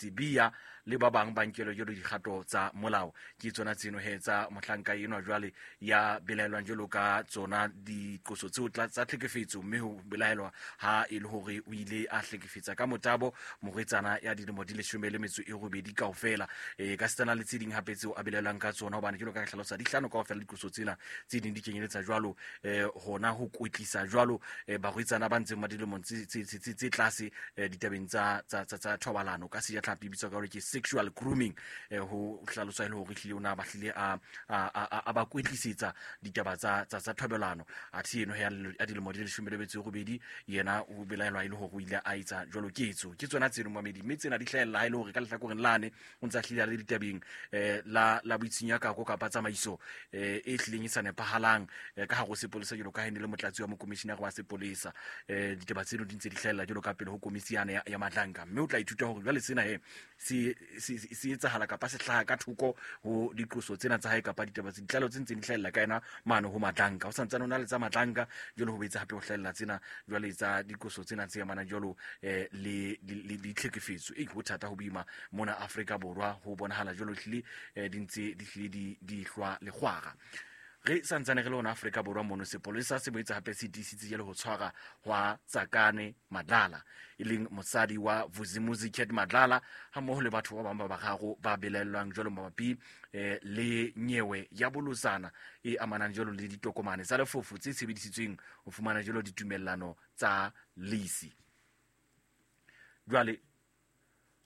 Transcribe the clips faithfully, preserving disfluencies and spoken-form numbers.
Sibiya le ba bang ba nkelwe jwalo dikgato tsa molao. Ke tsona tseno he tsa mohlanka enwa jwale ya belaelwang jwalo ka tsona diqoso tseo tsa tlhekefetso, mme ho belaelwa ha e le hore o ile a hlekefetsa ka motabo morwetsana ya dilemo di leshome le metso e robedi kaofela. E ka setsana le tse ding hape tseo a belaelwang ka tsona, hobane jwalo ka hlalosa di hlano kaofela diqoso tsena, tse ding di kenyeletsa jwalo eh hona ho kwetlisa jwalo barwetsana ba ntseng ba dilemong tse tse tlase ditabeng tsa tsa tsa thobalano ka sejatlhapi bitswa ka hore ke sexual grooming, ho hlaloswa e le hore hlile o na ba hlile a a ba kwetlisetsa ditaba tsa tsa tsa thobalano. Athe eno ya dilemo di leshome le metso e robedi yena o belaelwa e le hore o ile a etsa jwalo ketso. Ke tsona tseno mamedi, mme tsena di hlahella ha e le hore ka lehlakoreng lane o ntsa hlile a le ditabeng la la boitshunyakako kapa tsamaiso e hlileng e sa nepahalang ka hare ho sepolesa jwalo ka ha e ne le motlatsi wa mokomishinara wa sepolesa. Ditaba tseno di ntse di hlahella jwalo ka pele ho komisi yane ya Madlanga, mme o tla ithuta hore jwale sena he se se etsahala kapa se hlaha ka thoko ho diqoso tsena tsa hae kapa ditaba tse ditlalo tse ntseng di hlahella ka yena mane ho Madlanga. O santsane o na le tsa Madlanga jwalo ho betsa hape ho hlahella tsena jwale tsa diqoso tsena tse amanang jwalo le le ditlhekefetso. E ho thata ho boima mona Afrika Borwa, ho bonahala jwalo hlile di ntse di hlile di di hlwa lekgwara. Re santsane re le hona Afrika Borwa mono, sepolesa se boetse hape se tiisitse jwalo ho tshwara hwa Tsakane Madlala, e leng mosadi wa Vusimuzi Cat Madlala, hammoho le batho ba bang ba bararo ba belaellwang jwalo mabapi le nyewe ya bolotsana e amanang jwalo le ditokomane tsa lefofu tse sebedisitsweng ho fumana jwalo ditumellano tsa lease. Jwale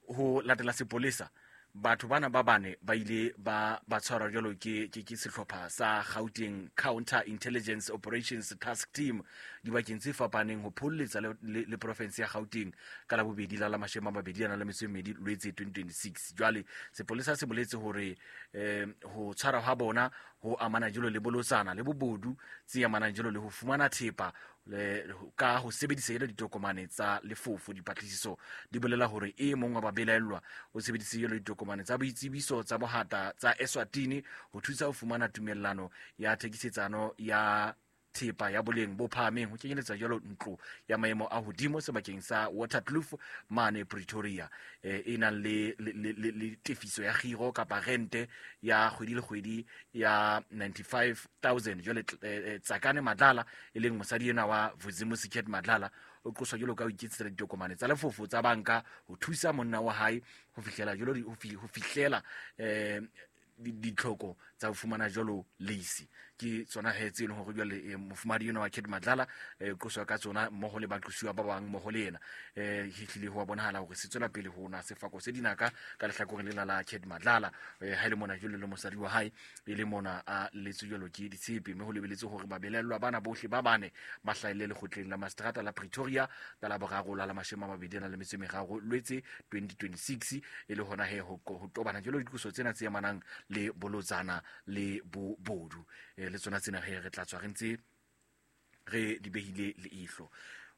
ho latela sepolesa, batho bana ba bane ba ile ba ba tshwarwa jwalo ke ke ke sehlopha sa Gauteng Counter Intelligence Operations Task Team dibakeng tse fapaneng ho pholletsa le, le, le province ya Gauteng ka la bobedi la la mashome a mabedi a nang le metso e mmedi Lwetse twenty twenty-six. Jwale sepolesa se boletse hore eh, ho tshwarwa ha bona ho amana jwalo le bolotsana le bobodu tse amanang jwalo le ho fumana thepa le ka ho sebedisa jwalo ditokomane tsa lefofu. Dipatlisiso di bolela hore e mong wa babelaellwa o sebedisitse jwalo ditokomane tsa boitsebiso tsa bohata tsa Eswatini ho thusa ho fumana tumellano ya thekisetsano ya thepa ya boleng bo phahameng ho kenyeletsa jwalo ntlo ya maemo a hodimo sebakeng sa Waterkloof mane Pretoria, e nang le le le tefiso ya kgiro kapa rente ya kgwedi le kgwedi ya ninety-five thousand. Jwale Tsakane Madlala, e leng mosadi ena wa Vusimuzi Cat Madlala, o qoswa jwalo ka ho iketsetsa ditokomane tsa lefofo tsa banka ho thusa monna wa hae ho fihlela jwalo ho fihlela eh ditlhoko tsa ho fumana jwalo lease. Ke tsona he tse leng hore jwale mofumadi ena wa Cat Madlala qoswa ka tsona mmoho le baqosuwa ba bang mmoho le yena. Eh hlile ho bonahala hore se tswela pele ho na sefako se dinaka ka lehlakoreng lena la Cat Madlala, ha ile mona jwale le mosadi wa hae e le mona a letswe jwalo ke ditshepe, mme ho lebeletse hore babelellwa bana bohle ba bane ba hlahelle lekgotleng la Mastrata la Pretoria ka la boraro la la mashome a mabedi a nang le metso e meraro Lwetse twenty twenty-six, e le hona he ho tobana jwalo diqoso tsena tse amanang le bolotsana le bobodu. Le tsona tsena re re tla tswa re ntse re di behile leihlo.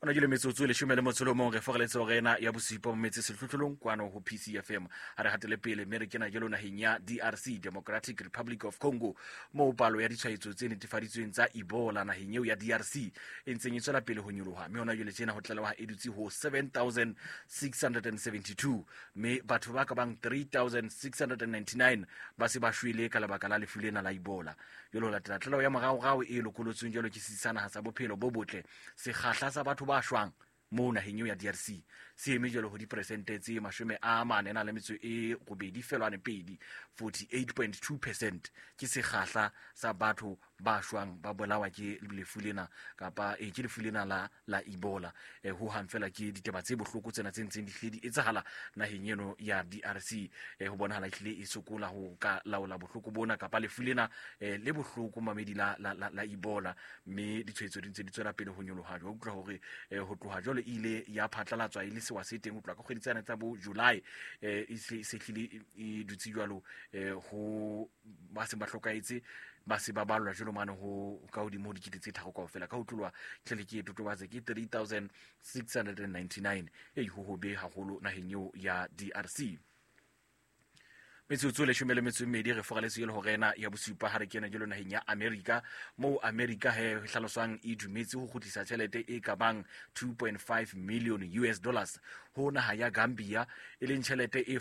Ona jule metsotso e leshome le motso o mong re foreletse hore ena ya bosupa metse sehlohlolong kwano ho P C F M. Ha re hatele pele mme re kena jalo naheng ya D R C, Democratic Republic of Congo, moo palo ya ditshwaetso tse netefaditsweng tsa Ebola naheng eo ya D R C e ntseng e tswela pele ho nyoloha, mme hona jwale tjena ho tlalewa e dutse ho seven thousand six hundred seventy-two, mme batho ba ka bang three thousand six hundred ninety-nine ba se ba shwele ka lebaka la lefu lena la Ebola. Jwale ho latela tlaleho ya moraorao e lokolotsweng jwalo ke setsi sa naha sa bophelo bo botle, sekgahla sa batho ba shwang mo naheng eo ya D R C se eme jwalo ho diperesente tse mashome a mane na le metso e robedi felwane pedi, forty-eight point two percent ke sekgahla sa batho ba shwang ba bolawa ke lefu lena kapa e ke lefu lena la la Ebola. E ho hang fela ke ditaba tse bohloko tsena tse ntseng di hlile di etsahala naheng eno ya D R C. E ho bonahala hlile e sokola ho ka laola bohloko bona kapa lefu lena le bohloko mamedi la la la Ebola, mme ditshwaetso di ntse di tswela pele ho nyoloha. Jwa utlwa hore ho tloha jwale ile ya phatlalatswa e le sewa se teng ho tloha ka kgwedi tsena tsa bo July, e se hlile e dutse jwalo ho ba seng ba hlokahetse ba se ba balwa jwalo mane ho ka hodimo ho dikete tse tharo kaofela. Ka ho tlolwa tjhelete e totobatse ke three thousand six hundred ninety-nine, e ho hobe haholo naheng eo ya D R C. Metsotso leshome le metso e mmedi re foraletse e le horena ya bosupa ha re kena jalo naheng ya America, moo America he ho hlaloswang e dumetse ho kgutlisa tjhelete e ka bang two point five million U S dollars ho naha ya Gambia, e leng tjhelete e